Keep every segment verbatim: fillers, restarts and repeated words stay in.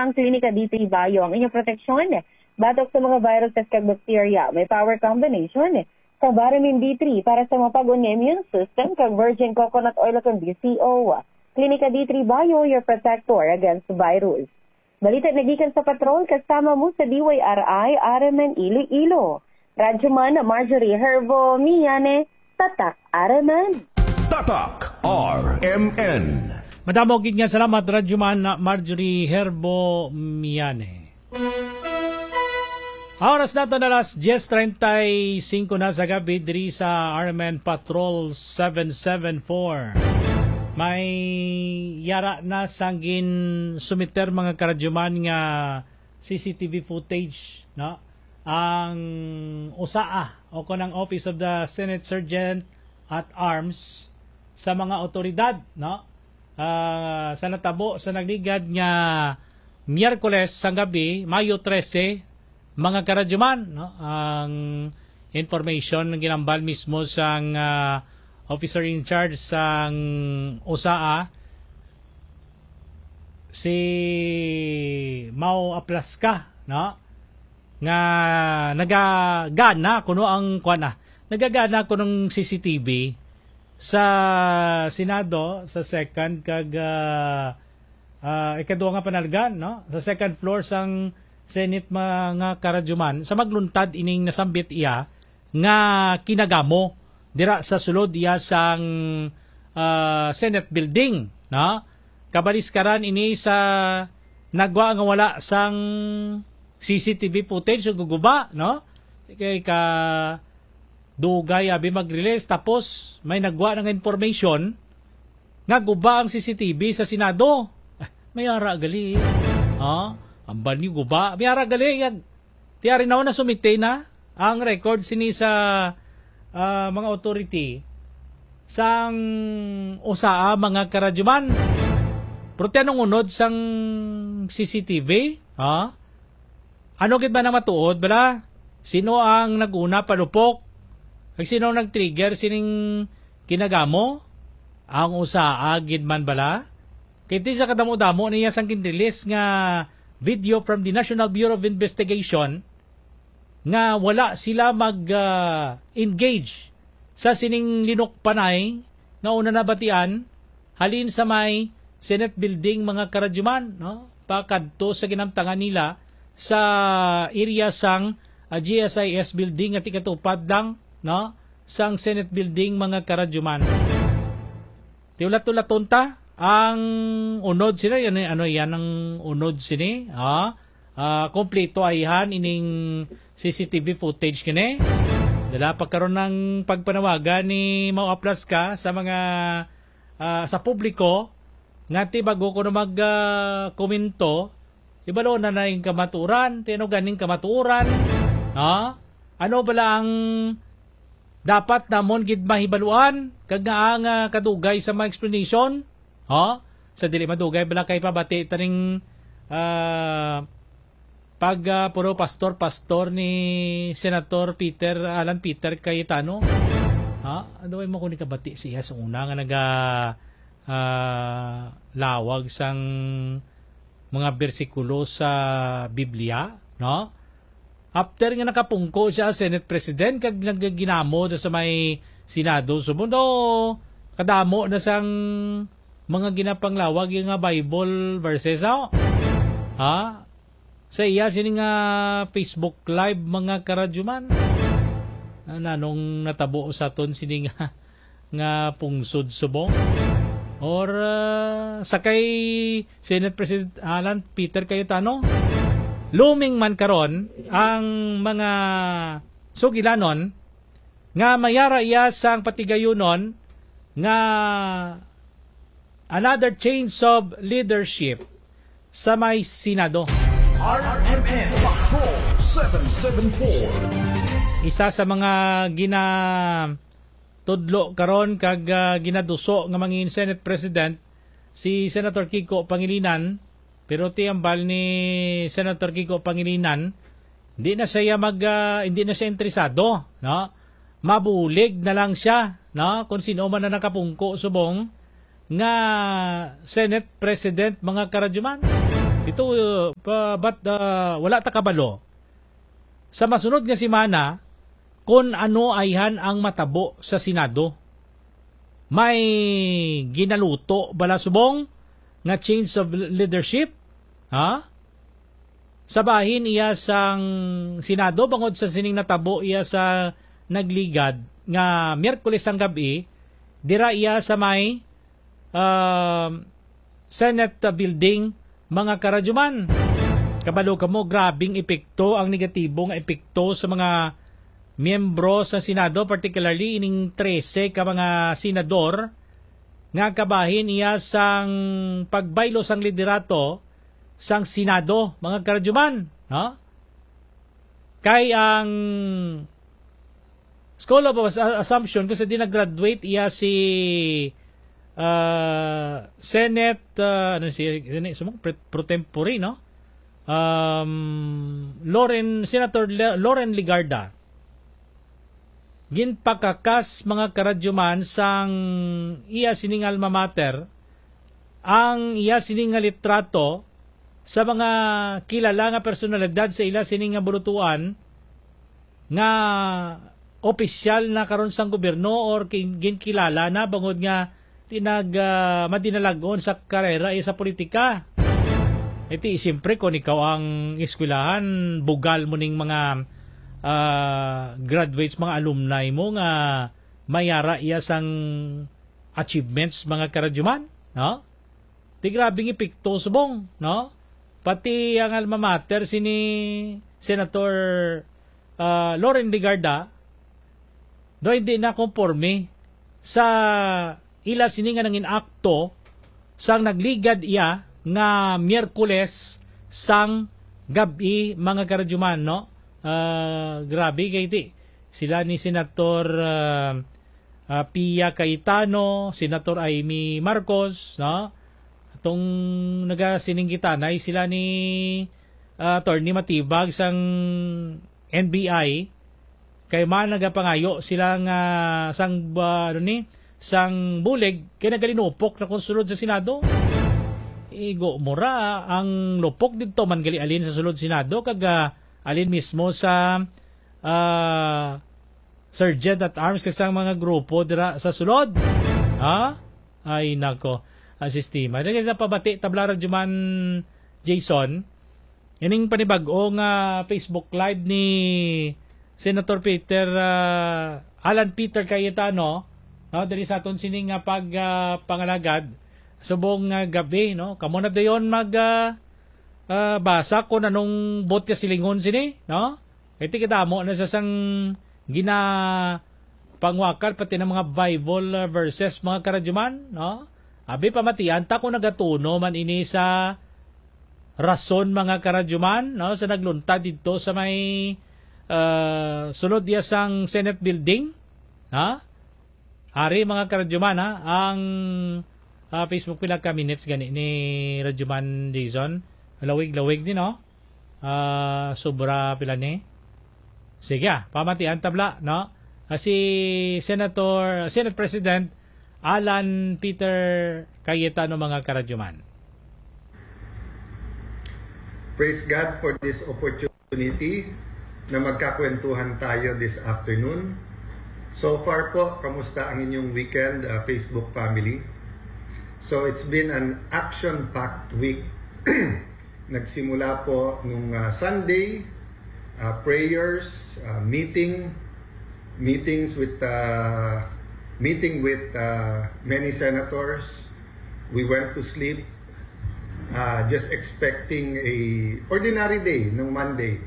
Ang Klinika D three Bio ang inyong proteksyon batok sa mga viruses kag bakterya. May power combination sa Vitamin D three para sa mapag-on nga immune system kag virgin coconut oil kag D C O. Klinika D three Bio, your protector against virus. Balita nagikan sa Patrol, kasama mo sa D Y R I, R M N Iloilo. Radyoman Marjorie Herbo Miane, Tatak R M N. Tatak R M N. Madamo gid nga salamat, Radyoman Marjorie Herbo Miane. Ang oras nato na alas diyes treinta y cinco na sa gabi diri sa R M N Patrol seven seven four. May yara na sang gin sumiter, mga karadyoman, nga C C T V footage, no? Ang usaa o kon ang Office of the Senate Sergeant at Arms sa mga awtoridad, no? Ah, sa natabo sa nagligad nga Miyerkules sang gabi, Mayo trese, mga karadyoman, no? Ang information nga ginambal mismo sang, ah, officer in charge sang usaa, si Mau Aplasca, no? Nga nagagana kuno ang, kuwan, ah, nagagana kuno ang C C T V sa Senado, sa second kag, ah, ah, ikaduha nga panalgan, no? Sa second floor sang Senate, mga karadyoman, sa magluntad ining nasambit iya nga kinagamo dira sa sulod iya sang, ah, Senate Building, no? Kabaliskaran ini sa nagwa nga wala sang C C T V footage o guguba, no? Kay ka dugay abi mag-release, tapos may nagwa na nga information nga guba ang C C T V sa Senado. Ah, may ara gali. Ha? Ambal niyo guba. May ara gali. Yan. Ti ari na, na sumite na ang record sini sa, ah, mga authority sang usaa, mga karadyoman. Pero ti anong unod sang C C T V? Ha? Ano gid ba nang matuod, bala? Sino ang nag-una palupok? Kag sino ang nag-trigger sining kinagamo? Ang usaa gid man, bala? Kay ti sa kadamo-damo niya sang gin-release nga video from the National Bureau of Investigation nga wala sila mag, ah, engage sa sining linukpanay nga una nabatian halin sa may Senate Building, mga karadyoman, no? Pakadto sa ginamtangan nila sa area sang, ah, G S I S Building nga tikatupad lang, no, sang Senate Building, mga karadyoman. Ti ulat-ulaton ta ang unod sini. Ano, ano yan ang unod sini? Ah, ah, kompleto ayhan ining C C T V footage kini. Dala pa karon ang pagpanawagan ni Mau Aplasca sa mga, ah, sa publiko nga ti bago ko na mag, ah, komento, ibalo na na yung kamaturan, ti ano ganing kamaturan, ha? Ano bala ang dapat namon gid mahibaluan kag nga ang, ah, kadugay sa mga explanation? Ha? Sa dili madugay bala kay pabati taning, ah, pag, ah, puro pastor, pastor ni Senator Peter, Alan Peter Cayetano. Ha? Ano ay mo kung kabati siya sa una nga naga, ah, lawag sang mga bersikulo sa Biblia, no? After nga nakapungko siya as Senate President kag nagaginamo na sa may Senado, subong daw kadamo na sang mga ginapanglawag yung nga Bible verses, oh. Ha? Sa iya sini nga Facebook Live, mga karadyoman. Na, nanong natabo sa aton sini nga, nga pungsod subong? Or, ah, sa kay Senate President Alan Peter Cayetano? Looming man karon ang mga sugilanon nga mayara iya sang patigayunon nga another change of leadership sa may Senado. R M N Patrol seven seven four. Isa sa mga ginatudlo karon kag, ah, ginaduso nga mangin Senate President si Senator Kiko Pangilinan, pero ti ambal ni Senator Kiko Pangilinan, hindi na siya mag, ah, hindi na siya interesado, no? Mabulig na lang siya, no? Kung sino man na nakapungko subong nga Senate President, mga karadyoman. Ito, uh, pa, but uh, wala ta kabalo sa masunod nga semana kon ano ayhan ang matabo sa Senado. May ginaluto bala subong nga change of leadership? Ha? Sa bahin iya sang Senado bangod sa sining natabo iya sa nagligad nga Miyerkules sang gab-i, dira iya sa may, um, Senate building, mga karadyuman. Kabalo kamo, grabing epekto ang negatibo nga epekto sa mga miyembro sa Senado, particularly ining trese ka mga senador nga kabahin iya sang pagbaylo sang liderato sang Senado, mga karadyuman, no? Kay ang School of As-, Assumption, kung sa di nag-graduate iya si, ah, Senate, ah, ano si, ano si, sumang pre-, pro tempore, no? Um, Loren, Senator Le-, Loren Legarda. Ginpakakas, mga karadyuman, sang iya sining alma mater ang iya sining nga litrato sa mga kilala nga personalidad sa ila sining nga bulutuan nga opisyal na karon sang gobyerno or ki-, ginkilala na bangod nga di nag, ah, madinalag-on sa karera iya sa politika. Iti, siyempre, kung ikaw ang eskwelahan, bugal mo ning mga, ah, graduates, mga alumni mo nga mayara iya sang achievements, mga karadyuman, no? Di grabing epekto subong, no? Pati ang alma mater sini Senator, ah, Loren Legarda, do hindi na konforme sa ila sini nga nangin akto sang nagligad iya nga Miyerkules sang gab-i, mga karadyuman, no? Ah, grabe kay ti sila ni Senator, ah, ah, Pia Cayetano, Senator Imee Marcos, no? Atong nagasininggitanay sila ni, ah, Attorney Matibag sang N B I, kay man nagapangayo sila nga sang, ah, ano ni, sang bulig kay nagalinupok na kon sulod sa Senado. Igo mo ra, ang lupok didto man gali alin sa sulod Senado kag, ah, alin mismo sa, ah, Sergeant at Arms kag sang mga grupo dira sa sulod. Ha? Ay, nako. Ang sistema. Dali sa pabati, tabla ra, Juman Jason. Ining panibag-o nga Facebook Live ni Senator Peter, ah, Alan Peter Cayetano, no, diri sa aton sini nga pag, ah, pangalagad subong nga gab-i, no. Kamo na dayon mag, ah, ah, basa kung anong bot nga silingon sini, no. Kay ti kadamo na sa sang gina pangwakal, pati ng mga Bible, ah, verses, mga karadyuman, no? Abi, pamatian ta kung nagatuno man ini sa rason, mga karadyuman, no? Sa nagluntad didto sa may, ah, sulod iya sang Senate Building, ha? Ari, mga karadyuman, ha? Ang, ah, Facebook, pila ka minutes gani ni Radyoman Jason? Lawig-lawig din, no? Ah, sobra pila ni? Sige, ah, pamatian tabla, no? Ah, si Senator, Senate President Alan Peter Cayetano, mga karadyuman. Praise God for this opportunity na magkakwentuhan tayo this afternoon. So far po, kamusta ang inyong weekend, ah, Facebook family? So it's been an action-packed week. Nagsimula po nung, ah, Sunday, ah, prayers, ah, meeting, meetings with, ah, meeting with, ah, many senators. We went to sleep, ah, just expecting a ordinary day nung Monday.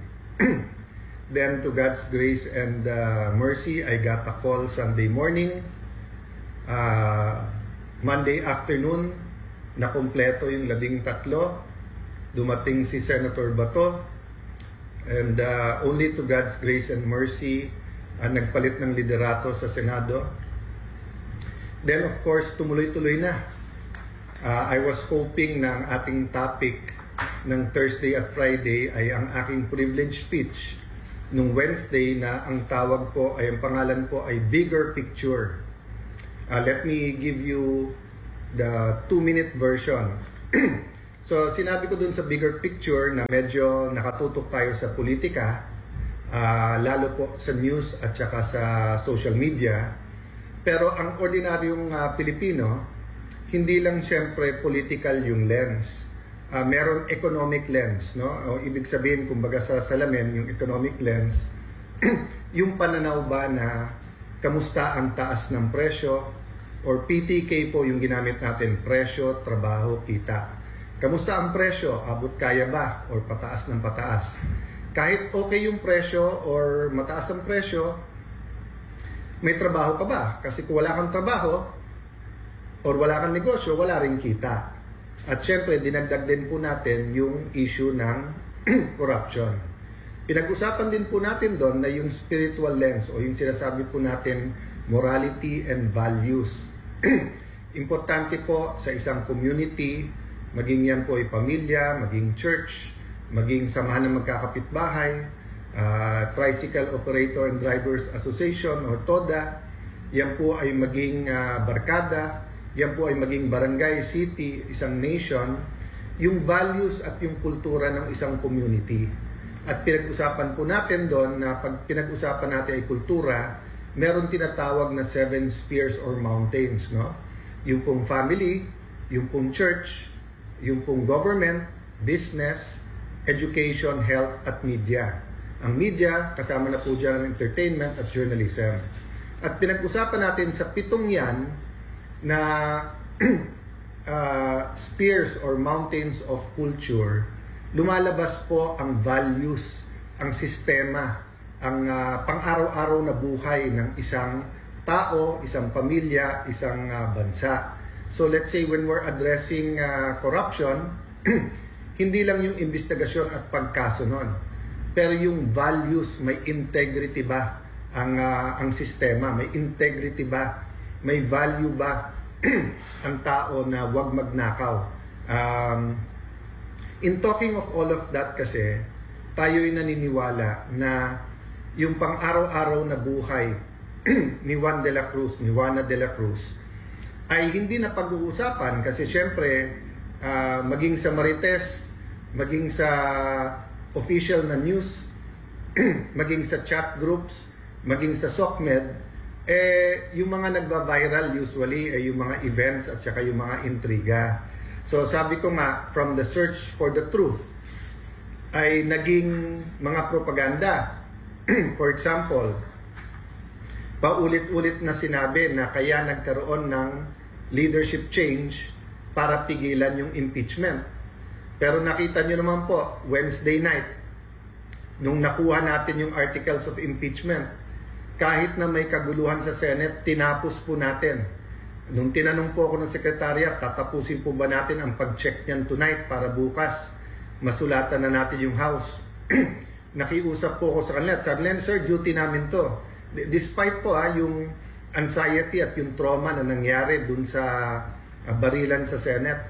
Then, to God's grace and, ah, mercy, I got a call Sunday morning. Ah, Monday afternoon, nakumpleto yung labing tatlo. Dumating si Senator Bato. And, ah, only to God's grace and mercy, ah, nagpalit ng liderato sa Senado. Then, of course, tumuloy-tuloy na. Ah, I was hoping na ang ating topic ng Thursday at Friday ay ang aking privilege speech nung Wednesday, na ang tawag po ay, ang pangalan po ay Bigger Picture. Ah, let me give you the two-minute version. So, sinabi ko dun sa bigger picture na medyo nakatutok tayo sa politika, ah, lalo po sa news at saka sa social media. Pero ang ordinaryong, ah, Pilipino, hindi lang siyempre political yung lens. Ah, meron economic lens, no? O ibig sabihin, kumbaga sa salamin, yung economic lens, yung pananaw ba na kamusta ang taas ng presyo? Or P T K po yung ginamit natin, presyo, trabaho, kita. Kamusta ang presyo? Abot kaya ba? Or pataas ng pataas? Kahit okay yung presyo or mataas ang presyo, may trabaho ka ba? Kasi kung wala kang trabaho, or wala kang negosyo, wala ring kita. At syempre, dinagdag din po natin yung issue ng corruption. Pinag-usapan din po natin doon na yung spiritual lens o yung sinasabi po natin morality and values. Importante po sa isang community, maging yan po ay pamilya, maging church, maging samahan ng magkakapitbahay, ah, Tricycle Operator and Drivers Association or TODA, yan po ay maging, ah, barkada, yan po ay maging barangay, city, isang nation, yung values at yung kultura ng isang community. At pinag-usapan po natin doon na pag pinag-usapan natin ay kultura, meron tinatawag na seven spheres or mountains, no? Yung pong family, yung pong church, yung pong government, business, education, health, at media. Ang media, kasama na po dyan ang entertainment at journalism. At pinag-usapan natin sa pitong yan na ah, spheres or mountains of culture, lumalabas po ang values, ang sistema, ang, ah, pang-araw-araw na buhay ng isang tao, isang pamilya, isang, ah, bansa. So let's say when we're addressing, ah, corruption, hindi lang yung investigasyon at pagkaso nun, pero yung values, may integrity ba ang, ah, ang sistema? May integrity ba? May value ba ang tao na wag magnakaw? Um, in talking of all of that kasi, tayo'y naniniwala na yung pang-araw-araw na buhay ni Juan de la Cruz, ni Juana de la Cruz, ay hindi na pag-uusapan kasi syempre, ah, maging sa Marites, maging sa official na news, maging sa chat groups, maging sa SOCMED, eh, yung mga nagva-viral usually ay yung mga events at saka yung mga intriga. So sabi ko nga, from the search for the truth ay naging mga propaganda. For example, paulit-ulit na sinabi na kaya nagkaroon ng leadership change para pigilan yung impeachment. Pero nakita nyo naman po, Wednesday night, nung nakuha natin yung articles of impeachment, kahit na may kaguluhan sa Senate, tinapos po natin. Nung tinanong po ako ng sekretarya, tatapusin po ba natin ang pag-check niyan tonight para bukas masulatan na natin yung House? Nakiusap po ako sa kanila at sabi nila, "Sir, duty namin to." D- Despite po, ha, yung anxiety at yung trauma na nangyari dun sa, ah, barilan sa Senate.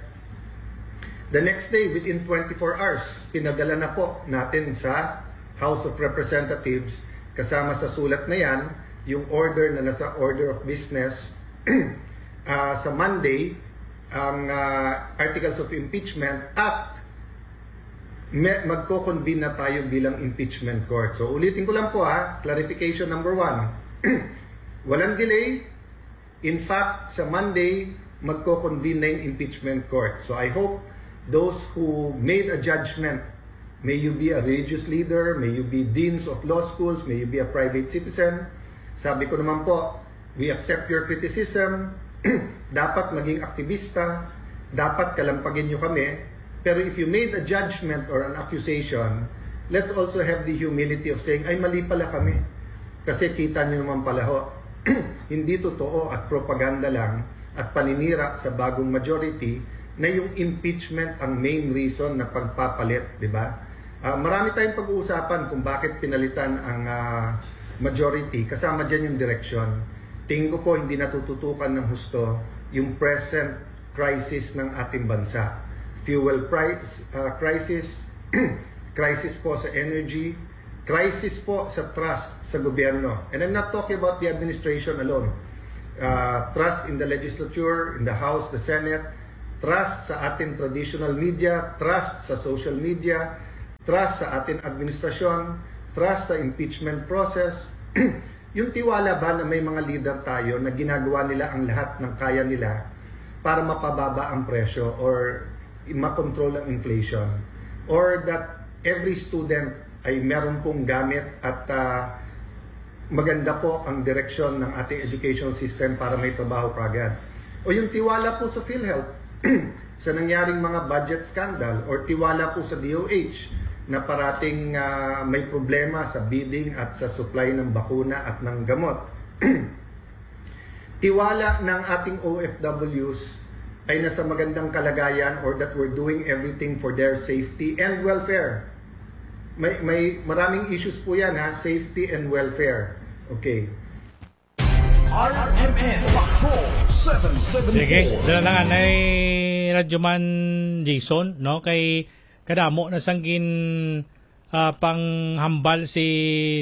The next day, within twenty-four hours, pinadala na po natin sa House of Representatives, kasama sa sulat na yan, yung order na nasa order of business, ah, sa Monday, ang, ah, articles of impeachment at me- magko-convene na tayo bilang impeachment court. So ulitin ko lang po, ha, clarification number one. Walang delay. In fact, sa Monday, magko-convene na yung impeachment court. So I hope those who made a judgment, may you be a religious leader, may you be deans of law schools, may you be a private citizen, sabi ko naman po, we accept your criticism. Dapat maging aktivista, dapat kalampagin nyo kami. Pero if you made a judgment or an accusation, let's also have the humility of saying, "Ay, mali pala kami." Kasi kita nyo naman pala ho, hindi totoo at propaganda lang at paninira sa bagong majority na yung impeachment ang main reason na pagpapalit, di ba? Ah, marami tayong pag-uusapan kung bakit pinalitan ang, ah, majority, kasama dyan yung direksyon. Tingin ko po, hindi natututukan ng husto yung present crisis ng ating bansa. Fuel price, ah, crisis, crisis po sa energy, crisis po sa trust sa gobyerno. And I'm not talking about the administration alone. Uh, trust in the legislature, in the House, the Senate, trust sa ating traditional media, trust sa social media, trust sa ating administrasyon, trust sa impeachment process. Yung tiwala ba na may mga leader tayo na ginagawa nila ang lahat ng kaya nila para mapababa ang presyo or makontrol ang inflation, or that every student ay meron pong gamit at, ah, maganda po ang direksyon ng ating education system para may trabaho kagad. O yung tiwala po sa PhilHealth, sa nangyaring mga budget scandal, or tiwala po sa D O H na parating, ah, may problema sa bidding at sa supply ng bakuna at ng gamot. Tiwala ng ating O F Ws ay nasa magandang kalagayan, or that we're doing everything for their safety and welfare. May, may maraming issues po yan, ha, safety and welfare. Okay. R M N Patrol seven seven four. Sige, dala lang anay Radyoman Jason, no? Kay kadamo na sang gin ah, panghambal si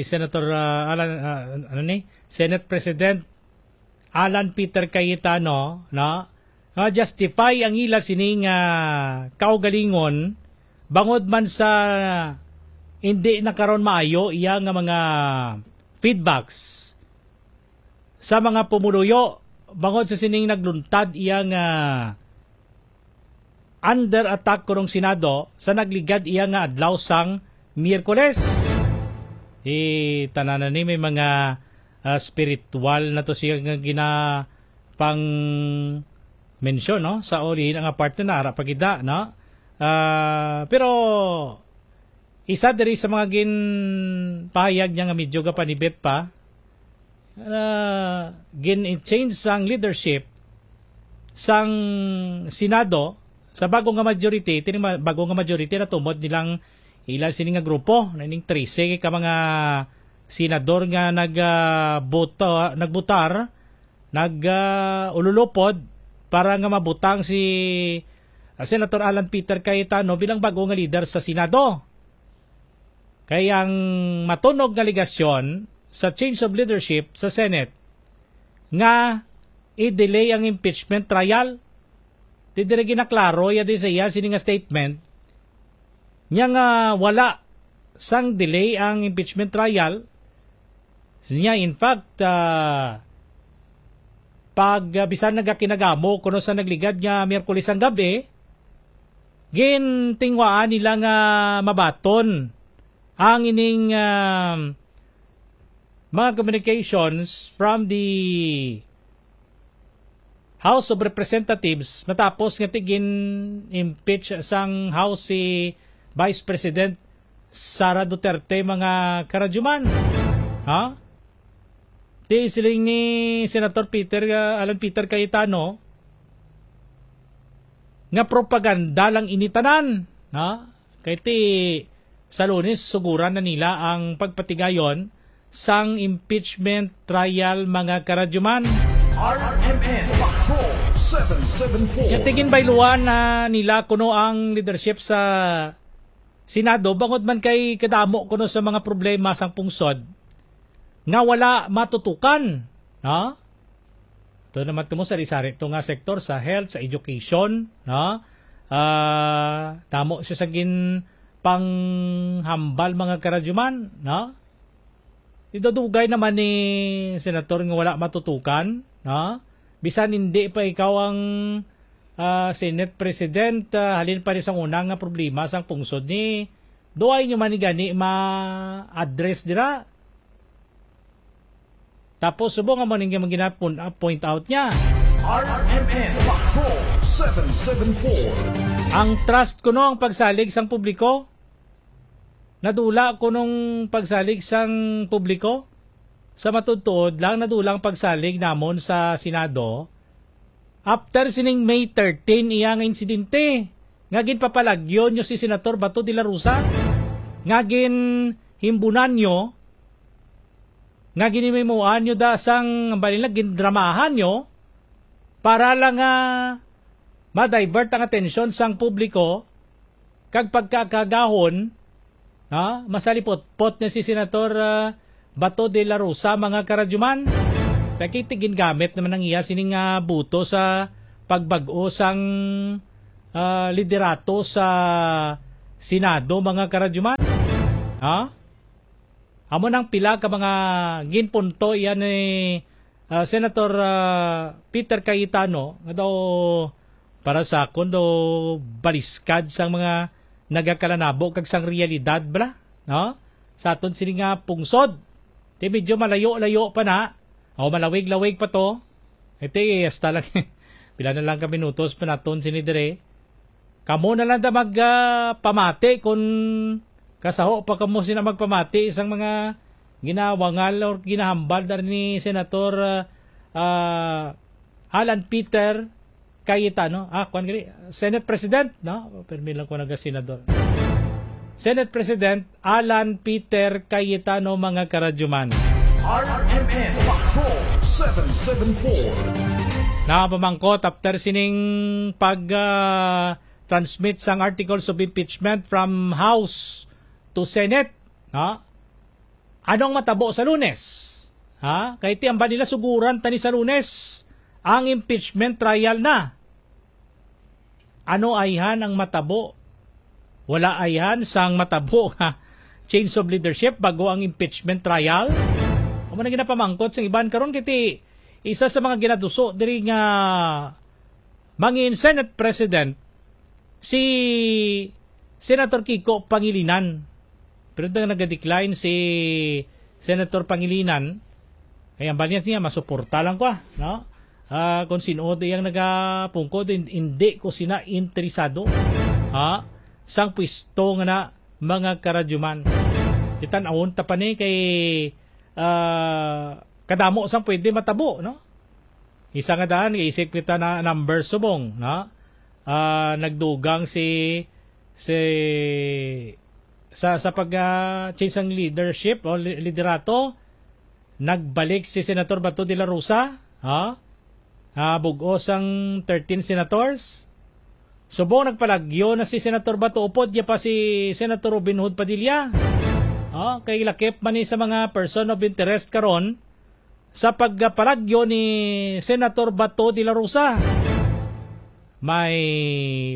Senator ah, Alan, ah, ano ni? Senate President Alan Peter Cayetano, no? Nga justify ang ila sining ah, kaugalingon bangod man sa hindi na karon maayo iya nga mga feedbacks sa mga pumuluyo bangod sa sining nagluntad iya nga under attack kurong Senado sa nagligad iya nga adlaw sang Miyerkules. Di tanan na ni may mga ah, spiritual na to siya nga gina pang mention, no, sa ulihin nga parte na ara pa gid, no. Ah, pero isa diri sa mga ginpahayag niya nga medyo gapanibet pa, ah, gin-change sang leadership sang Senado sa bago nga majority. Tini ma- bago nga majority natumod nilang ila sini nga grupo na ining trese ka mga senador nga nag ah, boto, nagbutar, nag ah, ululupod para nga mabutang si ah, Senator Alan Peter Cayetano bilang bago nga leader sa Senado. Kay ang matunog nga alegasyon sa change of leadership sa Senate nga i-delay ang impeachment trial. Di diri ginaklaro ya di sa iya sini nga statement niya nga wala sang delay ang impeachment trial. Niya, in fact, ah, pag ah, bisan nagakinagamo kuno sa nagligad nga Miyerkules ang gabi, gintingwaan nila nga mabaton ang ining ah, mga communications from the House of Representatives matapos nga tigin-impeach sang House si Vice President Sara Duterte, mga karadyuman. Ha? Di siling ni Senator Peter, ah, Alan Peter Cayetano nga propaganda lang ini tanan. Ha? Kay ti sa Lunes, suguran na nila ang pagpatigayon sang impeachment trial, mga karadyuman. R M N Patrol seven seven four. Nga tigin bayluan na nila kuno ang leadership sa Senado bangod man kay kadamo kuno sa mga problema sang pungsod nga wala matutukan, no? Ito naman ito mo sari-sari ito nga sektor sa health, sa education, no? Ah, damo siya sa gin panghambal, mga karadyuman, no? Idudugay naman ni Senator nga wala matutukan, no? Bisan hindi pa ikaw ang ah, Senate President, ah, halin pa ni sang una nga problema sang pungsod ni duay nyo man ni gani ma-address dira. Tapos subong amo ning mga gina-point out niya. R M N Patrol seven seven four. Ang trust kuno ang pagsalig sang publiko. Nadula kunong pagsalig sang publiko. Sa matuod-tuod lang, nadula ang pagsalig namon sa Senado after sining May thirteen iya nga insidente nga ginpapalagyo nyo si Senator Bato de la Rosa, nga ginhimbunan nyo, nga ginimimuan nyo da sang, bali na, gindramahan nyo para lang nga ma-divert ang atensyon sang publiko kag pagkakagahon, ha, masalipotpot na si Senator ah, Bato de la Rosa, mga karadyuman. Kay gingamit naman ang iya sining ah, buto sa pagbag-o sang ah, liderato sa Senado, mga karadyoman. Ha? Amo nang pila ka mga ginpunto yan ni, ah, Senator, ah, Peter Cayetano, nga daw para sa akon daw baliskad sang mga nagakalanabo kag sang realidad bala, no? Sa aton sini nga pungsod. Ti medyo malayo-layo pa na, o malawig-lawig pa to. Iti, hasta lang, pila na lang ka minutos pa naton sini dire. Kamo na lang da mag, ah, pamati kung kasaho pa kamo sina magpamati sang mga ginawangal or ginahambal da ni Senator, ah, ah, Alan Peter Cayetano. Ah, kwan gali, Senate President, no? Permi lang ko naga-senador. Senate President Alan Peter Cayetano, mga karadyoman. R M N Patrol seven seven four. Napamangkot after sining pag, ah, transmit sang articles of impeachment from House to Senate, ha? Anong matabo sa Lunes? Ha? Kay ti amban nila suguran tani sa Lunes ang impeachment trial na. Ano ayhan ang matabo? Wala ayhan sang matabo nga change of leadership bago ang impeachment trial? Amo na ginapamangkot sang iban karon kay ti isa sa mga ginaduso diri nga mangin Senate President si Senator Kiko Pangilinan. Pero nag-decline si Senator Pangilinan, kaya ang balian niya, masuporta lang ko, ah, no? Ah, kung sino iyang nagapungkod, hin-, hindi ko sina interesado, ha? Sang pwesto nga na, mga karadyoman. Itan-awon ta pa ni kay, ah, kadamo sang pwede matabo, no? Isa nga daan, isip kita na number subong, no? Ah, nagdugang si, si, sa, sa pag, ah, change sang leadership o li-, liderato, nagbalik si Senator Bato de la Rosa, ha? Ah, bug-os ang thirteen senators. Subong nagpalagyo na si Senator Bato, upod niya pa si Senator Robin Hood Padilla. Ah, kay lakip man ni sa mga person of interest karon sa pagpalagyo ni Senator Bato de la Rosa. May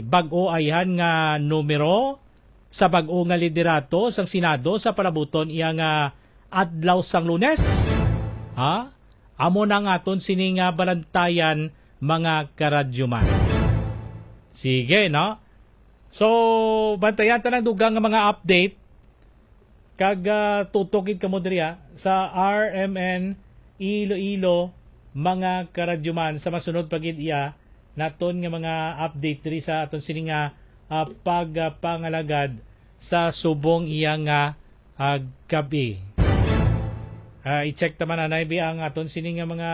bag-o ayhan nga numero sa bag-o nga liderato sang Senado sa palabuton iya nga adlaw sang Lunes. Ha? Amo na ang aton sini nga balantayan, mga karadyoman. Sige, no? So, bantayan ta lang dugang nga mga update. Kag, ah, tutok gid kamo diri, ah, sa R M N Iloilo, mga karadyoman, sa masunod pa gid iya naton nga mga update diri sa aton sini nga, ah, pagpangalagad sa subong iya nga, ah, gab-i. Ah, i-check ta man anay bi ang aton sini nga mga,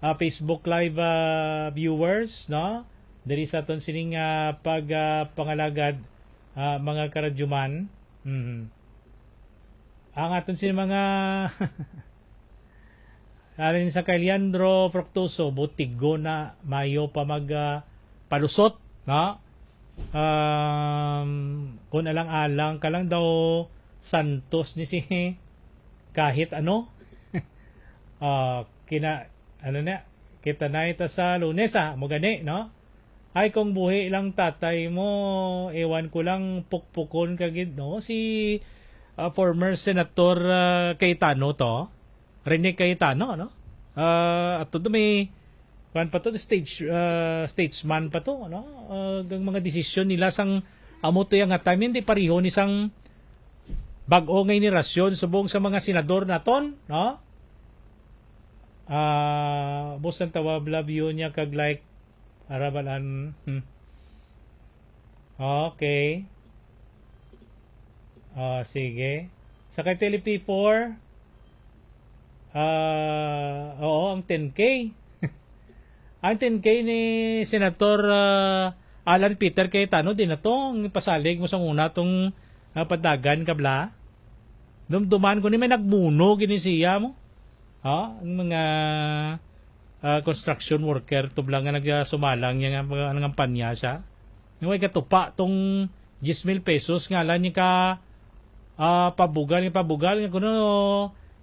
ah, Facebook Live, ah, viewers, no? Diri sa aton sini nga pag, ah, pangalagad, ah, mga karadyoman. Mhm. Ang aton sini mga Alin sa kay Leandro Fructuoso, butigo na, mayo pa mag, ah, palusot, no? Um, kung alang-alang ka lang daw, santos ni si kahit ano. Ah, kina-, ano na, kita na ita sa Lunes, ah, mo gani, no? Ay, kung buhi lang tatay mo, ewan ko lang, pukpukon ka gid, no? Si, ah, former Senator, ah, Cayetano to. Rene Cayetano, no? Ah, at todo may, kuwan pa to, stage, ah, statesman pa to, no? Ah, ang mga desisyon nila sang amo to yang nga time, hindi pareho ni sang bag-o nga henerasyon, subong sa mga senador naton, no? Ah, bus ang tawab, love you niya kag like, arabalan, hmm. Okay. Ah, sige. Sa kay Tele P four, ah, oo, ang ten K. Ang ten K ni Senator, ah, Alan Peter Cayetano, di na to, ang pasalig mo sa una tong, ah, padagan kabla. Dumduman ko ni may nagmuno gini siya mo. Ha? Ang mga, ah, construction worker, tublang nga nagsumalang niya nga mga, nga kampanya siya. Nga way katupa tong diyes mil pesos nga alam niya ka, ah, pabugal, nga pabugal, nga kuno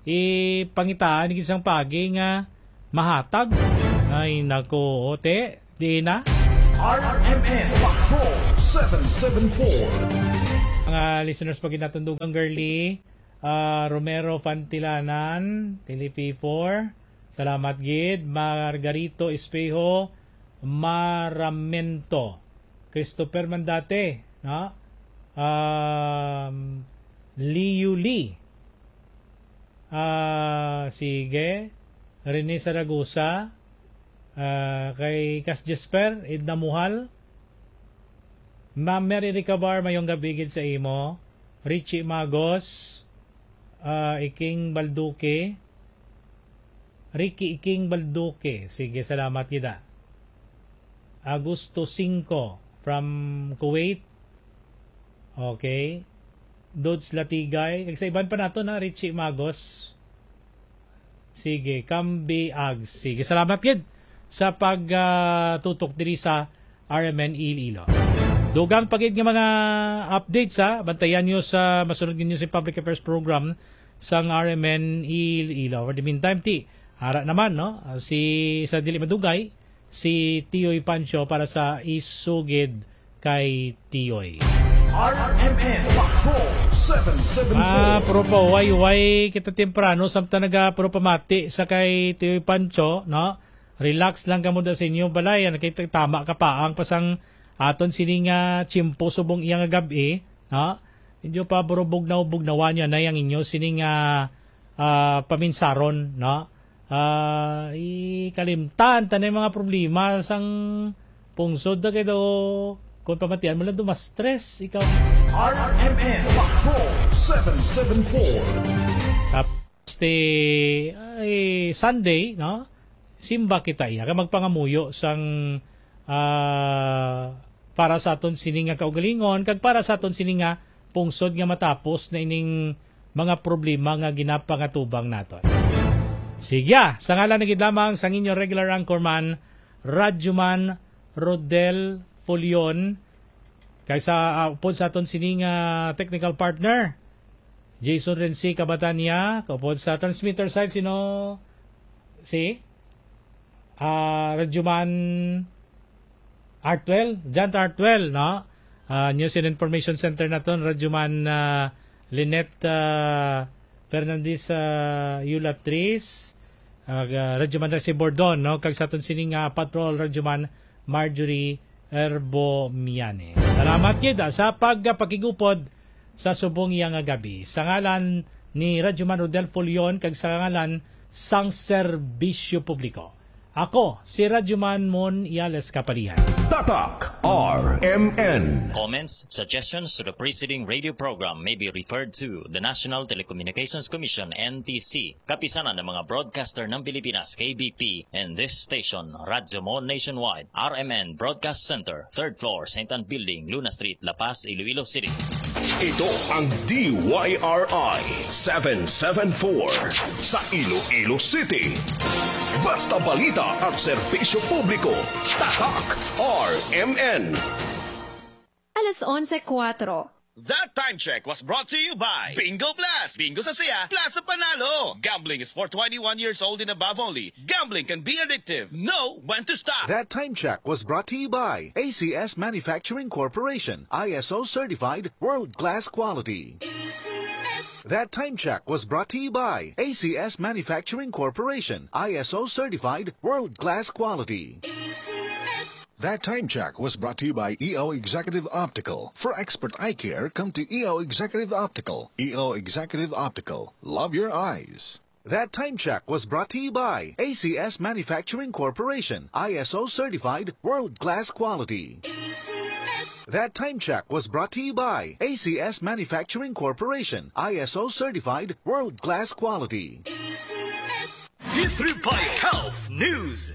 ipangitaan gid sang pagi nga mahatag. Ay, nako, ote, di na. R M N Patrol seven seven four. Mga listeners, pag natundugang Girly, ah, Romero Fantilanan, T L P four, salamat gid. Margarito Espejo Maramento, Christopher Mandate, no? Um, Liu Lee. Ah, sige. Rene Saragosa, ah, kay Kas Jesper, Edna Muhal, Ma'am Mary Ricabar, mayong gabi gid sa imo. Richie Magos, ah, Iking Balduque, Ricky Iking Balduque. Sige, salamat gid, ah. Agosto singko from Kuwait. Okay. Dodge Latigay. Kag sa iban pa nato na, Richie Magos. Sige, Kambi Ags. Sige, salamat gid sa pag, ah, tutok diri sa R M N Iloilo. Dugang pa gid nga mga updates, ha. Bantayan nyo sa masunod ninyo sa public affairs program sang R M N Iloilo. For the meantime, ti, ara naman, no? Si, sa dili madugay, si Tiyoy Pancho para sa Isugid kay Tiyoy. R M N Patrol seven seven four. Ah, pero pa, why, why kita temprano, samtang naga, pero pamati sa kay Tiyoy Pancho, no? Relax lang kamo da sa inyo balay, ano, kay tama ka pa, ang pasang aton sini nga tiyempo subong iya nga gab-i, no? Medyo pa burubog na ubog na wanya na yang inyo sini nga, ah, paminsaron, no? Ah, ikalimtan ta na yung mga problema sang pungsod na kayo. Kung pamatian mo lang, dumastres ikaw. R M N Patrol seven seven four. Tapos, ti, ay, Sunday, no? Simba kita iya. Kay magpangamuyo sang, ah, para sa aton sini nga kaugalingon, kag para sa aton sini nga pungsod nga matapos na ining mga problema nga ginapangatubang naton. Sige, ah, sa ngalan na gid lamang sang inyo regular anchorman, Radyoman Rodel Fulion, kay sa, ah, upod sa aton sini nga technical partner, Jason Renzi Cabatania, kaupod sa transmitter side, sino? Si? Ah, Radyoman Artwell, John Artwell, no? Ah, News and Information Center naton, Radyoman, ah, Lynette, ah, Fernandez, ah, Yulatris, ah, Radyoman Resi Bordon, no? Kag sa aton sini nga patrol, Radyoman Marjorie Erbo Miane. Salamat gid, ah, sa pagpakigupod sa subong iya nga gabi. Sa ngalan ni Radyoman Rodel Fulion kag sa ngalan sang serbisyo publiko, ako si Radyoman Mon Iales Kapalian. Tatak R M N. Comments, suggestions to the preceding radio program may be referred to the National Telecommunications Commission, N T C, kapisanan ng mga broadcaster ng Pilipinas, K B P, and this station, Radyo Mon Nationwide, R M N Broadcast Center, third floor, Saint Ann Building, Luna Street, La Paz, Iloilo City. Ito ang D Y R I seven seven four sa Iloilo City. Basta balita at serbisyo publiko, Tatak R M N. Alas onse kuwatro. That time check was brought to you by Bingo Blast! Bingo sa saya, plus sa panalo! Gambling is for twenty-one years old and above only. Gambling can be addictive. Know when to stop. That time check was brought to you by A C S Manufacturing Corporation, I S O certified, world-class quality. A C S. That time check was brought to you by A C S Manufacturing Corporation, I S O certified, world-class quality. A C S. That time check was brought to you by E O Executive Optical. For expert eye care, come to E O Executive Optical. E O Executive Optical. Love your eyes. That time check was brought to you by A C S Manufacturing Corporation, I S O certified, world-class quality. A C S. That time check was brought to you by A C S Manufacturing Corporation, I S O certified, world-class quality. A C S. D three Bio Health News.